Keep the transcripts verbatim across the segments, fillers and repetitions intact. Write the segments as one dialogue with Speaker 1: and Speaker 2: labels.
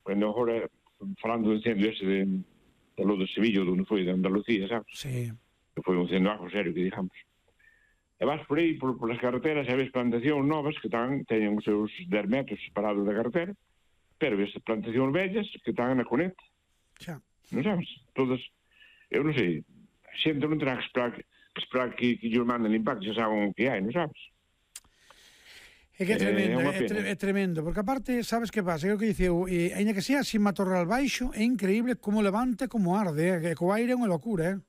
Speaker 1: cando agora, falando do incendio ese de, de lo de Sevilla, onde foi, de Andalucía, sabes?
Speaker 2: Sí.
Speaker 1: Que foi un incendio algo serio, que digamos. E vas por aí, por, por as carreteras, e ves plantacións novas que están, teñen os seus dez metros separados da carretera, pero ves plantacións vellas que están na conecta.
Speaker 2: Xa.
Speaker 1: Non sabes? Todas, eu non sei, a xente non terá que esperar que, que, esperar que, que lles manden limpar, que xa saben o que hai, non sabes?
Speaker 2: É que é tremendo,
Speaker 1: é,
Speaker 2: é, tre é tremendo, porque aparte, sabes que pasa? É o que diceu, e, ainda que sea sin matorral baixo, é increíble como levanta, como arde, eh? Que co aire é unha locura, eh?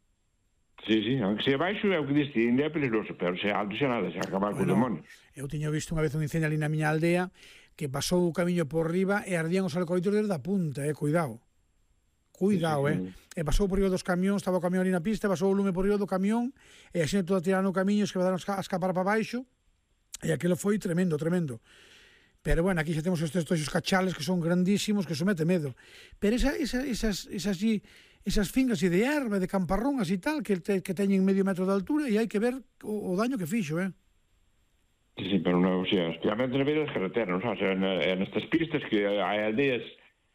Speaker 1: Sí, sí, aunque sea baixo é o que diste, ainda é peligroso, pero se alto xa nada, xa acabar bueno, con demonios.
Speaker 2: Eu tiño visto unha vez un incendio ali na miña aldea que pasou o camiño por riba e ardían os alcoholitos desde a punta, eh? Cuidado. Cuidado, sí, sí, eh? E pasou por riba dos camións, estaba o camión ali na pista, pasou o lume por riba do camión e a xente toda tirando o camiño, que quedaron a escapar para baixo. E aquilo foi tremendo, tremendo. Pero bueno, aquí xa temos estes toxos cachales que son grandísimos, que somete medo. Pero esa, esa, esas, esas, esas fingas de erva, de camparrón, así tal, que, te, que teñen medio metro de altura e hai que ver o, o daño que fixo, eh?
Speaker 1: Sí, sí, pero non, o sea, especialmente na beira das carreteras, non sabes? En estas pistas que hai aldeas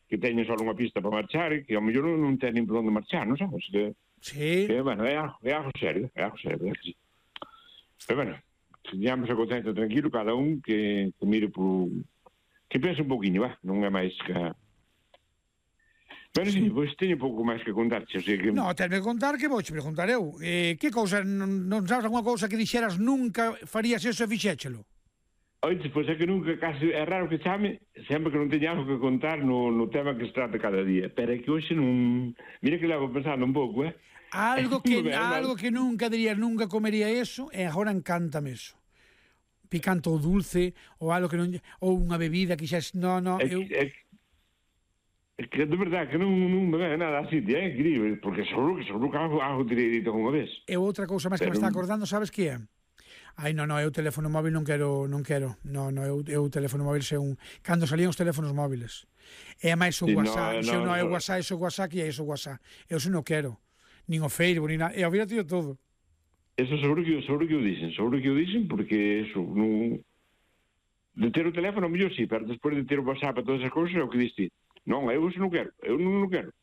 Speaker 1: que teñen só unha pista para marchar e que ao mellor non teñen por onde marchar, non sabes? Que,
Speaker 2: sí.
Speaker 1: Que, bueno, é algo, é algo serio, é algo serio, é que sí. Pero bueno, teñamos a conciencia tranquilo, cada un que, que mire por... que pense un poquinho, va, non é máis que... Pero sí, pois teño pouco máis que contarche, o sea que...
Speaker 2: No, tenme que contar que vouche preguntar eu. Eh, que cousa, non, non sabes alguna cousa que dixeras nunca farías eso e fixéchelo?
Speaker 1: Oite, pois é que nunca, casi, é raro que chame, sempre que non teña algo que contar no, no tema que se trata cada día. Pero é que hoxe non... Mira que levo pensando un pouco, eh?
Speaker 2: Algo que, algo que nunca dirías, nunca comería eso, e agora encántame eso. Picante ou dulce, ou algo que non... ou unha bebida que xa... No, no,
Speaker 1: é,
Speaker 2: eu...
Speaker 1: É, é que de verdade que non, non me ve nada así, é increíble, porque seguro que seguro que algo, algo tirei dito unha vez.
Speaker 2: E outra cousa máis que Pero... me está acordando, sabes que é? Ai, non, non, eu teléfono móvil non quero, non quero. Non, non, eu, eu teléfono móvil se un... Cando salían os teléfonos móviles. É máis o sí, WhatsApp, no, se no, non é o WhatsApp, é o WhatsApp e é o WhatsApp. Eu se non quero. Nin o Facebook, nin nada. E ao final tío todo.
Speaker 1: Eso seguro que, seguro que o dicen, seguro que o dicen, porque eso, non... De ter o teléfono, mellor sí, pero despois de ter o WhatsApp e todas esas cousas, é o que diste. Non, eu eso non quero, eu non, non quero.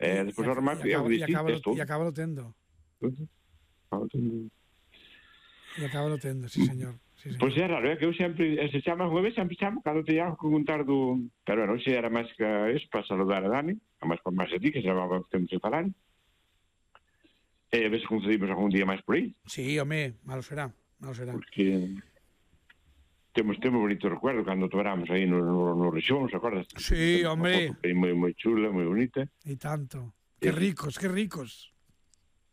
Speaker 1: E despois ao remate, é o que diste, é todo.
Speaker 2: E acaba lo tendo.
Speaker 1: Acaba tendo.
Speaker 2: E acaba lo tendo, sí, señor. Sí,
Speaker 1: pois é raro, é que eu sempre, se chama unha vez, sempre chamo, cando te llamo con contar do... Pero bueno, se era máis que eso, para saludar a Dani, a máis por máis a ti, que se chamaba que temos que falar. E a ver se concedimos algún día máis por aí.
Speaker 2: Sí, home, malo será, malo será.
Speaker 1: Porque temos temos bonito recuerdo cando tobramos aí no, no, no Rexón, ¿se acordas?
Speaker 2: Sí, hombre.
Speaker 1: Moi, moi chula, moi bonita.
Speaker 2: E tanto. Que ricos, que ricos.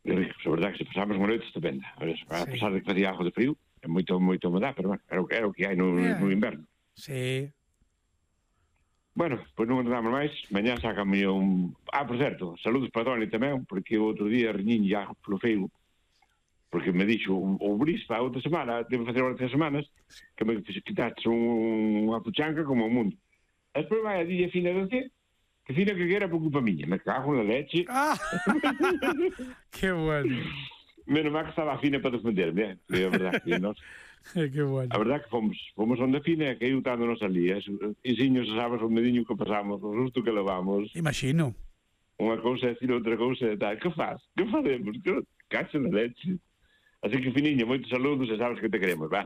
Speaker 1: Que ricos, a verdade que se pasamos unha noite estupenda. A pesar de que facía algo de frío, é moito, moito humedad, pero bueno, era o que, era o que hai no, yeah. no inverno.
Speaker 2: Sí.
Speaker 1: Bueno, pois non andamos máis. Mañá sácame un... Ah, por certo, saludos para Toni tamén, porque o outro día reñín ya polo Facebook, porque me dixo o Brispa outra semana, debo facer outras semanas, que me quitaste un, unha puchanca como o mundo. Despois vai a dilla fina de você, que fina que era por culpa miña. Me cago na leche.
Speaker 2: Ah, que bueno.
Speaker 1: Menos mal que estaba fina para defenderme, é a verdade que nós...
Speaker 2: Que bueno.
Speaker 1: A verdade que fomos, fomos onde fina e que eu tanto nos ali. E siños, sabes, o medinho que pasamos, o susto que levamos.
Speaker 2: Imagino.
Speaker 1: Unha cousa é decir outra cousa e tal. Que faz? Que faremos? Que cacho na leche. Así que, Finiño, moitos saludos e sabes que te queremos, va?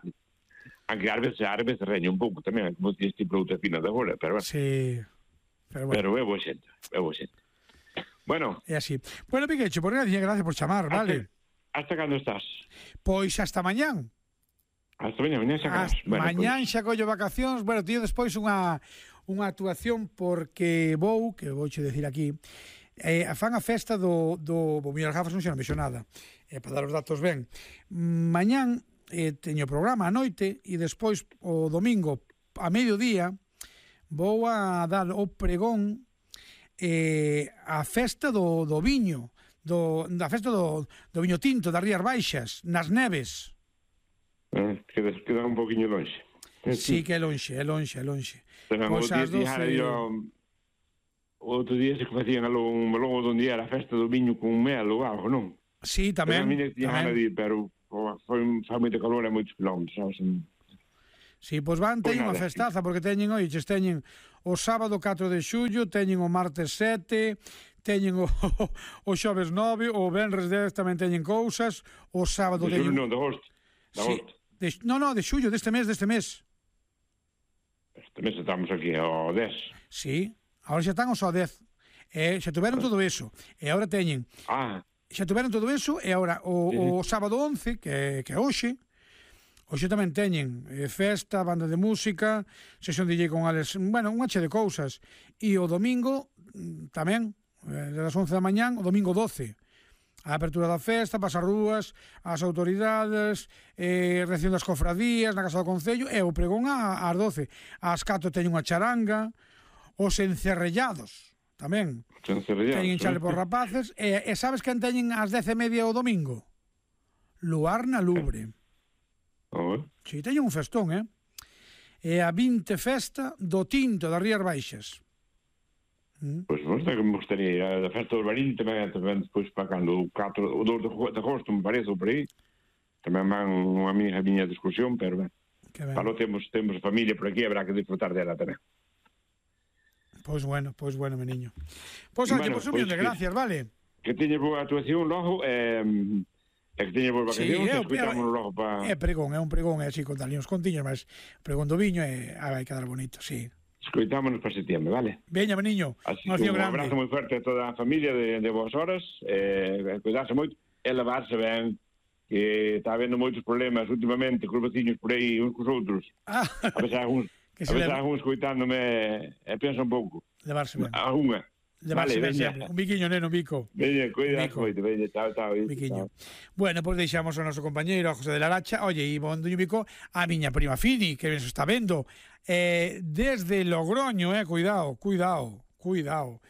Speaker 1: Aunque ás veces, ás veces reña un pouco tamén, como ti este outra fina de agora, pero bueno.
Speaker 2: Sí. Pero bueno.
Speaker 1: Pero é boa xente, é boa xente. Bueno.
Speaker 2: É así. Bueno, Piquecho, por gracias, gracias por chamar,
Speaker 1: hasta,
Speaker 2: vale?
Speaker 1: Hasta cando estás?
Speaker 2: Pois hasta mañán.
Speaker 1: Hasta mañán, mañán xa acabas.
Speaker 2: Bueno, mañán xa collo vacacións. Bueno, tío, despois unha unha actuación porque vou, que vouche decir aquí, eh, fan a festa do, do bo, miñas gafas non xa non vexo nada, eh, para dar os datos ben. Mañán eh, teño programa a noite e despois o domingo a mediodía vou a dar o pregón eh, a festa do, do viño, do, da festa do, do viño tinto das Rías Baixas, nas Neves.
Speaker 1: Eh, queda, queda un poquinho longe.
Speaker 2: Sí, que é longe, é longe, é longe.
Speaker 1: Pero pois outro día, doce... yo, outro día se que facían algo, un melón onde era a festa do viño con mel ou algo, non?
Speaker 2: Sí, tamén.
Speaker 1: Pero, tamén. Dir, pero oh, foi, foi moito calor e moitos quilómetros, sabes?
Speaker 2: Si, pois van, teñen unha festaza, porque teñen, oiches, teñen o sábado catro de xullo, teñen o martes sete, teñen o, o xoves nove, o venres dez tamén teñen cousas, o sábado
Speaker 1: de
Speaker 2: teñen...
Speaker 1: xullo non, de agosto. De agosto.
Speaker 2: Sí, de, no, no, de xullo, deste mes, deste mes.
Speaker 1: Este mes estamos aquí ao dez.
Speaker 2: Sí, agora xa están os ao dez. E xa tuveron todo eso. E agora teñen...
Speaker 1: Ah,
Speaker 2: Xa tuveron todo eso, e agora o, o sábado once, que, que é hoxe, hoxe tamén teñen eh, festa, banda de música, sesión D J con Alex, bueno, unha che de cousas. E o domingo tamén, eh, das once da mañán, o domingo doce. A apertura da festa, pasar rúas, as autoridades, eh, reacción das cofradías na Casa do Concello, e o pregón ás doce. As catro teñen unha charanga, os encerrellados, tamén. Teñen chale por rapaces. E, e sabes quen teñen ás dez e media o domingo? Luar na Lubre.
Speaker 1: Oh.
Speaker 2: Si, teñen un festón, eh? E a vinte festa do Tinto das Rías Baixas.
Speaker 1: Mm. Pois pues, que me gustaría a festa do Barín tamén, tamén despois para cando o catro, o dos de agosto me parece, ou por aí. Tamén van unha amiga miña de excursión, pero ben. Para temos, temos familia por aquí, habrá que disfrutar dela tamén.
Speaker 2: Pois bueno, pois bueno, mi niño. Pois, oye, bueno, pois un millón de gracias, vale?
Speaker 1: Que teñes boa actuación logo, eh, e que teñes boas vacacións, sí, escoitamos logo para...
Speaker 2: É pregón, é un pregón, é así, con tal uns contiños, mas pregón do viño e ah, vai quedar bonito, sí.
Speaker 1: Escoitámonos para setembro, vale?
Speaker 2: Veña, mi niño,
Speaker 1: así un, un abrazo moi fuerte a toda a familia de, de vos horas, eh, cuidarse moito, e lavarse ben, que está habendo moitos problemas últimamente, con os veciños por aí, uns cos outros. Ah. A veces algúns... A veces algún escoitándome e pensa un pouco.
Speaker 2: Levarse ben.
Speaker 1: Alguna.
Speaker 2: Levarse vale, ben sempre. Un biquiño, neno, un bico.
Speaker 1: Veña, cuida, moito, veña, chao, chao.
Speaker 2: Un biquiño. Bueno, pois pues deixamos ao noso compañeiro, a José de la Lacha. Oye, e bon duño bico, a miña prima Fini, que ben se está vendo. Eh, desde Logroño, eh, cuidado, cuidado, cuidado.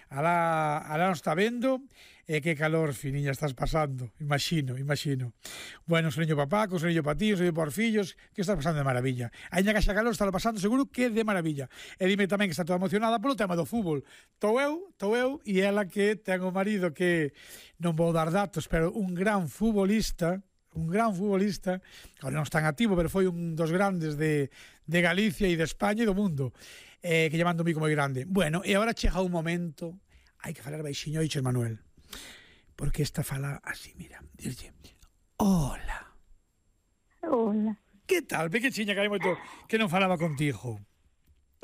Speaker 2: Alá, alá nos está vendo. E eh, que calor, Finiña, estás pasando. Imagino, imagino. Bueno, un soño papá, un soño para ti, un soño por fillos, que estás pasando de maravilla. Ainda que xa calor, está pasando seguro que de maravilla. E dime tamén que está toda emocionada polo tema do fútbol. Tou eu, tou eu, e ela que ten o marido que non vou dar datos, pero un gran futbolista, un gran futbolista, agora non está en activo, pero foi un dos grandes de, de Galicia e de España e do mundo, eh, que llevando un bico moi grande. Bueno, e agora chega un momento, hai que falar baixiño, oiches, Manuel. Porque esta fala así, mira, dirlle, hola.
Speaker 3: Hola.
Speaker 2: Que tal, pequechiña, que hai moito que non falaba contigo?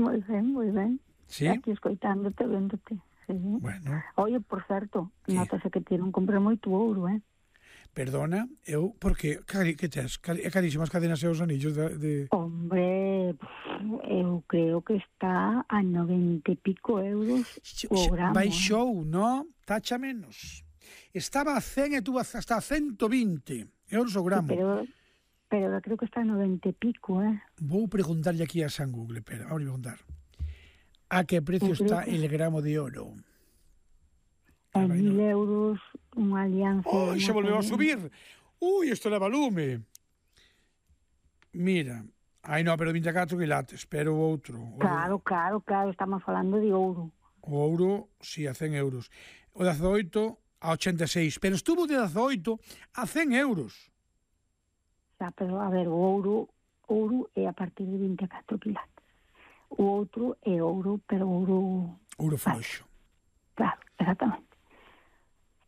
Speaker 3: Moi ben, moi ben.
Speaker 2: Sí?
Speaker 3: Aquí escoitándote, véndote. Sí.
Speaker 2: Bueno.
Speaker 3: Oye, por certo, notase que ti non compré moito ouro, eh?
Speaker 2: Perdona, eu, porque, cari, que tes? Cari, é carísimo as cadenas e os anillos de, de...
Speaker 3: Hombre, eu creo que está a noventa e pico euros o gramo.
Speaker 2: Baixou, eh? No? Tacha menos. Estaba a cen e tuvo hasta a ciento vinte euros o gramo.
Speaker 3: Sí, pero, pero creo que está a noventa e pico, eh?
Speaker 2: Vou preguntarlle aquí a San Google, espera, vamos a preguntar. A que precio está el gramo de oro?
Speaker 3: A mil euros, unha alianza...
Speaker 2: Oh, xa volveu a subir. Ui, isto leva lume. Mira, ai non, pero vinte e catro quilates, pero o outro. O
Speaker 3: claro,
Speaker 2: de...
Speaker 3: claro, claro, estamos falando de ouro.
Speaker 2: O ouro, si, sí, a cen euros. O dezaoito a ochenta e seis, pero estuvo de dezaoito a cen euros.
Speaker 3: Xa, pero a ver, o ouro, ouro é a partir de vinte e catro quilates. O outro é ouro, pero ouro...
Speaker 2: Ouro floxo.
Speaker 3: Claro, exactamente.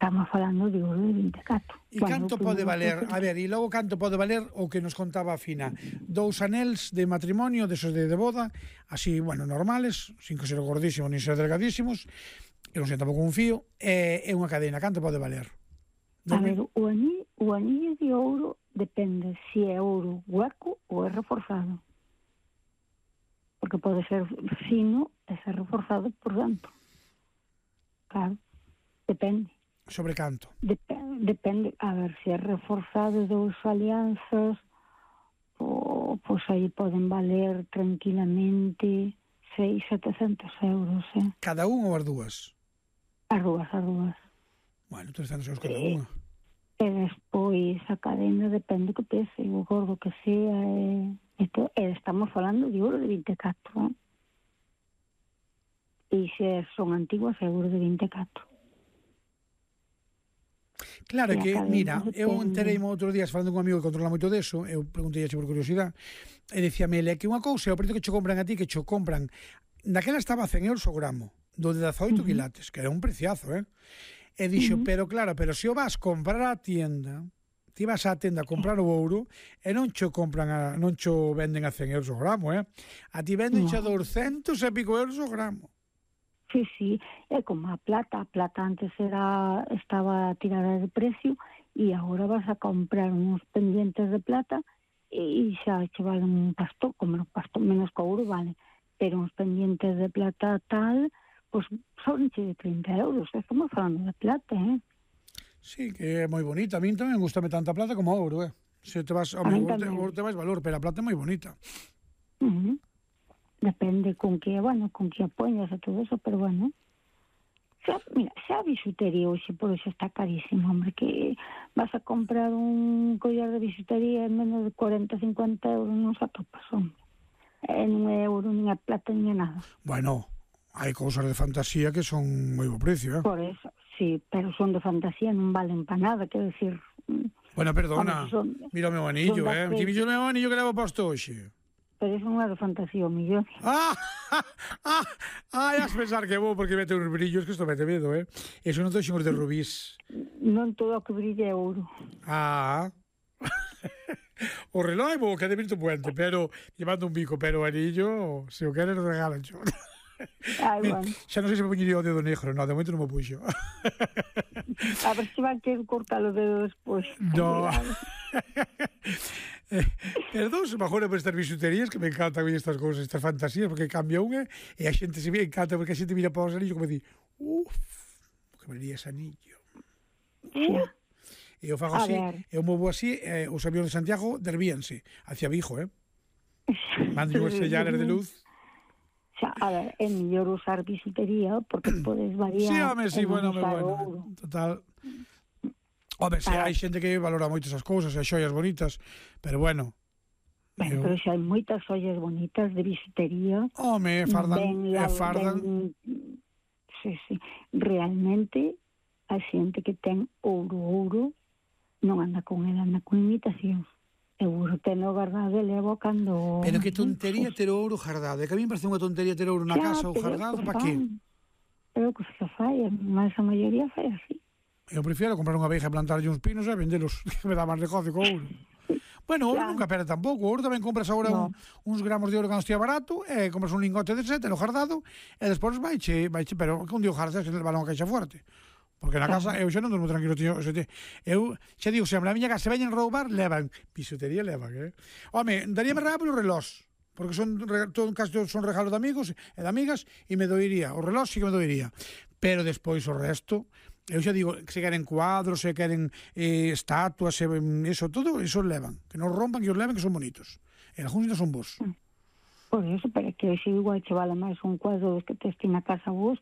Speaker 3: Estamos falando de ouro de vinte e catro.
Speaker 2: E canto pode valer? A ver, e logo canto pode valer o que nos contaba a Fina? Dous anéis de matrimonio, desos de, de boda, así, bueno, normales, sin que ser gordísimos nin ser delgadísimos, que non sei tampouco un fío, é, é unha cadena. Canto pode valer?
Speaker 3: A ver, o anillo, o anillo de ouro depende se é ouro hueco ou é reforzado. Porque pode ser fino e ser reforzado por dentro. Claro, depende.
Speaker 2: Sobre canto?
Speaker 3: Dep depende, a ver, se é reforzado dous alianzas, o, pois aí poden valer tranquilamente seis, setecentos euros, eh?
Speaker 2: Cada un ou as dúas?
Speaker 3: As dúas, as dúas.
Speaker 2: Bueno, trescentos euros cada
Speaker 3: e,
Speaker 2: unha.
Speaker 3: E despois a cadena depende que pese, o gordo que sea, e, esto, e estamos falando de ouro de vinte e catro, eh? E se son antiguas, é ouro de vinte e catro.
Speaker 2: Claro, que,
Speaker 3: que
Speaker 2: mira, eu
Speaker 3: depende.
Speaker 2: entereime outros días falando con un amigo que controla moito deso, eu preguntei por curiosidade, e dicíame ele que unha cousa é o precio que che compran a ti, que che compran, daquela estaba a cen euros o gramo, do de dezaoito
Speaker 3: Uh -huh.
Speaker 2: quilates, que era un preciazo, eh? E dixo,
Speaker 3: Uh -huh.
Speaker 2: pero claro, pero se o vas comprar á tienda, ti vas á tenda a comprar o ouro, e non cho compran a, non cho venden a cen euros o gramo, eh? A ti venden xa
Speaker 3: No.
Speaker 2: doscientos e pico euros o gramo.
Speaker 3: Sí, sí, é como a plata. A plata antes era estaba tirada de precio e agora vas a comprar uns pendientes de plata e xa che valen un pasto, como un pasto menos que ouro vale, pero uns pendientes de plata tal, pois son de trinta euros, estamos falando de plata, eh?
Speaker 2: Sí, que é moi bonita. A min tamén gustame tanta plata como ouro, eh? Se te vas,
Speaker 3: A
Speaker 2: home,
Speaker 3: min
Speaker 2: ouro te,
Speaker 3: tamén.
Speaker 2: ouro te vais valor, pero a plata é moi bonita.
Speaker 3: Uh -huh. Depende con que, bueno, con que apoyas e todo eso, pero bueno. Xa, mira, xa a bisutería hoxe por eso está carísimo, hombre, que vas a comprar un collar de bisutería en menos de cuarenta, cincuenta euros, non se atopas, hombre. E non é euro, nin é plata, nin é nada.
Speaker 2: Bueno, hai cousas de fantasía que son moi bo precio, eh?
Speaker 3: Por eso, sí, pero son de fantasía, non valen para nada, quero decir...
Speaker 2: Bueno, perdona,
Speaker 3: Hombre, son,
Speaker 2: mira o meu anillo,
Speaker 3: son
Speaker 2: eh?
Speaker 3: das
Speaker 2: Ti
Speaker 3: que...
Speaker 2: visto o meu anillo que levo posto hoxe?
Speaker 3: Pero eso non é de fantasía, o millón.
Speaker 2: Ah, ah, ah, has pensar que é bo porque mete uns brillos que isto mete medo, eh? Eso non te ximos de rubís.
Speaker 3: Non todo o que brilla é ouro.
Speaker 2: Ah, o reloj é bo, que é de Virtu Puente, pero llevando un bico, pero o anillo, se o queres, regalan xo.
Speaker 3: Ai, bueno.
Speaker 2: Xa non sei se me poñería o dedo negro, no, de momento non me puxo.
Speaker 3: A ver se van querer cortar o dedo despois.
Speaker 2: No. eh, perdón, se mejor por estas bisuterías que me encantan estas cousas, estas fantasías, porque cambia unha e a xente se me encanta porque a xente mira para os anillos como di, uff, que me ese anillo. Uh. E eu fago así, eu movo así, eh, os aviones de Santiago dervíanse hacia Vigo, eh? Mando unhas señales de luz.
Speaker 3: Xa, a ver, é mellor usar bisutería porque podes variar.
Speaker 2: Sí, home, sí, bueno, home, bueno. Total. Home, sí, hai xente que valora moito esas cousas, e xoias bonitas, pero bueno.
Speaker 3: Ben, eu... pero xa hai moitas xoias bonitas de bisutería.
Speaker 2: Home, fardan, ben, e fardan.
Speaker 3: Ben, sí, sí. Realmente, a xente que ten ouro, ouro, non anda con ela, anda con imitacións. Seguro teno guardado e levo cando...
Speaker 2: Pero que tontería ter ouro guardado. É que a mí me parece unha tontería ter ouro na xa, casa ou guardado, para que?
Speaker 3: Pero que se fai, mas a maioría fai así.
Speaker 2: Eu prefiero comprar unha abeja e plantarlle uns pinos e vendelos, que me dá máis negocio co ouro. Bueno, ouro nunca perde tampouco. Ouro tamén compras agora no. un, uns gramos de ouro cando estea barato, e compras un lingote de sete, lo guardado, e despois vaiche, vaiche, pero que un día guardas que levar unha caixa fuerte. Porque na casa eu xa non durmo tranquilo, tío. Eu xa digo, sempre a miña casa se veñen roubar, levan. Bisutería levan, eh? Home, daríame regalo polo relós, porque son, todo, casi todos son regalos de amigos e de amigas, e me doiría. O relós sí que me doiría. Pero despois o resto, eu xa digo, se queren cuadros, se queren eh, estatuas, se, eso, todo, eso levan. Que non rompan, que os leven, que son bonitos. E algúns non son vos.
Speaker 3: Por eso, pero que xe igual che vale máis un cuadro dos que tes ti na casa vos,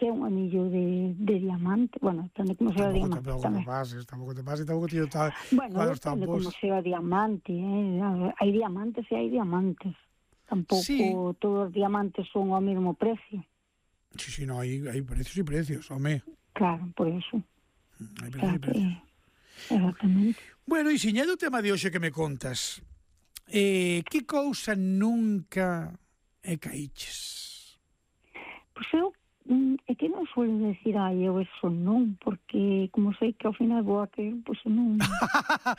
Speaker 3: que é un anillo de, de diamante. Bueno, depende como sea o diamante.
Speaker 2: Tampouco te pases, tampouco te pases, tampouco tío tal.
Speaker 3: Bueno, depende como sea o diamante, eh? Hai diamantes e hai diamantes. Tampouco sí. Todos os diamantes son ao mesmo precio.
Speaker 2: Sí, sí, no, hai, hai precios e precios, home.
Speaker 3: Claro, por eso.
Speaker 2: Hai precios e precios.
Speaker 3: Exactamente.
Speaker 2: Bueno, e siñado o tema de hoxe que me contas, eh, que cousa nunca e caíches?
Speaker 3: Pois eu é que non suelo decir, ai, eu eso non, porque como sei que ao final vou a caer, pois non...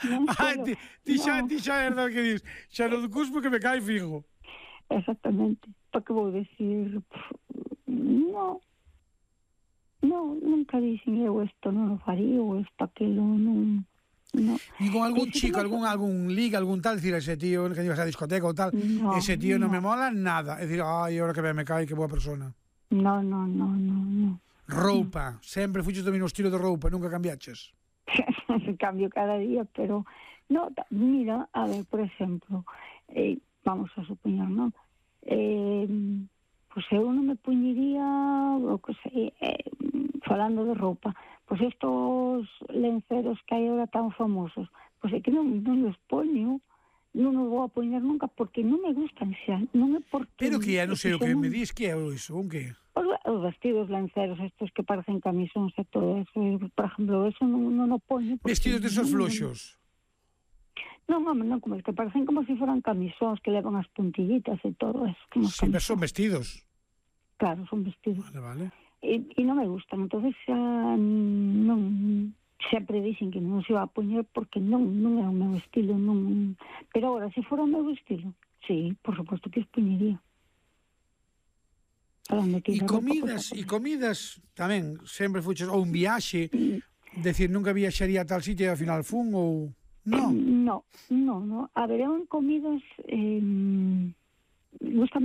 Speaker 3: non
Speaker 2: ah, ti, ti, xa, ti xa é verdade que dis, xa non cuspo que me cae fijo.
Speaker 3: Exactamente. Para que vou decir, non, non, nunca dixen eu isto non o faría, ou isto, aquilo, non... No.
Speaker 2: E con algún e chico, algún algún liga, algún tal, decir, ese tío que ibas a discoteca ou tal, no, ese tío non no me mola nada. É dicir, ai, ahora que me cae, que boa persona.
Speaker 3: No, no, no, no, no.
Speaker 2: Roupa, sempre fuches do mesmo estilo de roupa, nunca cambiaches?
Speaker 3: Cambio cada día, pero... No, mira, a ver, por exemplo, eh, vamos a supoñer, non? Eh, pois eu non me puñería, o que sei, eh, falando de roupa, pois estos lenceros que hai agora tan famosos, pois é que non, non los poño, non o vou a poñer nunca porque non me gustan xa, non é porque...
Speaker 2: Pero que é, non sei o que
Speaker 3: non...
Speaker 2: me dis, que é iso, un que?
Speaker 3: Os, os vestidos lanceros estos que parecen camisóns e todo eso, por exemplo, eso non, non o poño...
Speaker 2: Vestidos desos floxos?
Speaker 3: Non, home, non, como es que parecen como se si foran camisóns que levan as puntillitas e todo eso.
Speaker 2: Sí, pero son vestidos.
Speaker 3: Claro, son vestidos.
Speaker 2: Vale, vale.
Speaker 3: E, e non me gustan, entonces xa non... Sempre dicen que non se va a poñer porque non, non é o meu estilo, non... Pero agora, se fora o meu estilo, sí, por suposto que os poñería.
Speaker 2: E comidas, e comidas tamén, sempre fuches, ou un viaxe, decir, nunca viaxaría a tal sitio e ao final fun, ou... No.
Speaker 3: No, no, no. A ver, en comidas... Eh, gusta